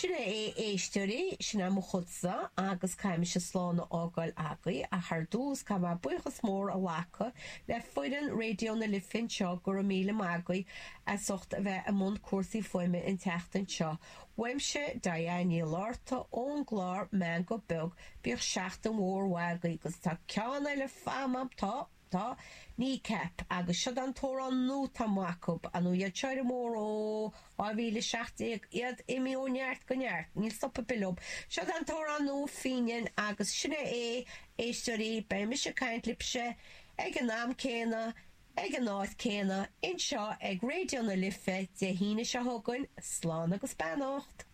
Sin é a éisteoirí, sin é mo chudsa agus caithfidh mise slán a fhágáil agaibh ach ar dtús caithfidh mé buíochas mór a ghlacadh le foireann Raidió na Life anseo, go raibh míle maith agaibh as ucht a bheith i mbun cúrsaí fuaime an tseachtain seo. Uaimse, Diane Ní Fhlatharta ón gclár Meangadh Beag, bíodh seachtain mhór mhaith agaibh agus tá ceann eile faighte agam, tá! Tá Kneecap agus siod an t-amhrán nua atá amuigh acu, ar ndóigh iad seo ar an mbóthar ó 2017, iad imithe ó neart go neart, níl stop ar bith leo. Siod an t-amhrán nua Fíneáin agus sin é é, éisteoirí, beidh mise ag caint libhse ag an am céanna, ag an áit céanna, anseo ag Raidió na Life Dé hAoine seo chugainn, slán agus beannacht!